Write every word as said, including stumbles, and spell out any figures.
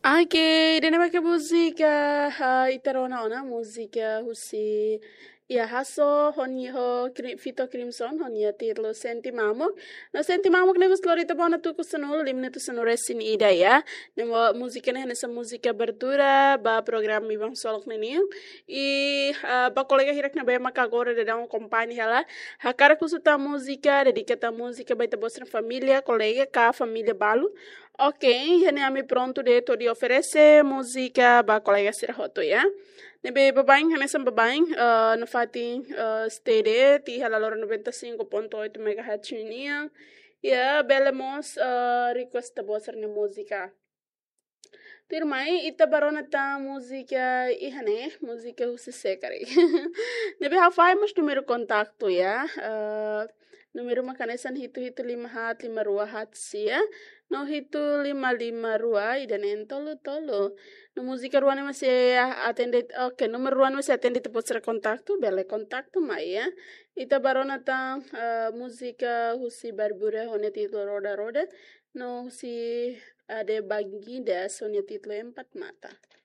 Oke, ida-ne'e mak múzika, ah, ita rona ona múzika husi Iha Hasso, ho nia ho Cri-, Vito Crimson, ho nia títulu Sente Mamuk. No Sente Mamuk ne'e mós lori ita ba ona tuku sanulu, lima minutu sanulu resin ida ya. Ne'e mós múzika ne'e hanesan múzika abertura ba programa Ibang Solok ninian. I, ah, ba kolega hirak ne'ebé maka agora daudaun akompaña hela, hakarak husu tan múzika, dedika tan múzika ba ita-boot sira-nia família, kolega ka família balu. Oke, iha ne'e ami prontu de'it hodi oferese múzika ba kolega sira hotu ya. Ne'ebé baibain, hanesan baibain, eh, nafatin, eh, stay de'it iha laloran noventa e cinco ponto oito megahertz nian. Ya, bele mós, eh, request ita-boot sira-nia múzika. Tuirmai, ita bá rona tan múzika iha ne'e, múzika husi sé karik. Ne'ebé ha'u fahe mós númeru kontaktu ya. Eh, númeru mak hanesan hitu hitu lima haat lima rua haat sia, no hitu lima lima rua ida-neen tolu tolu. No múzika rua ne'e mak sei atende, oke, númeru rua ne'e mak sei atende ita-boot sira kontaktu, bele kontaktu mai ya. Ita bá rona tan, eh, múzika husi Barbura ho nia títulu Roda Roda, no husi Ade Baginda ho nia títulu Empat Mata.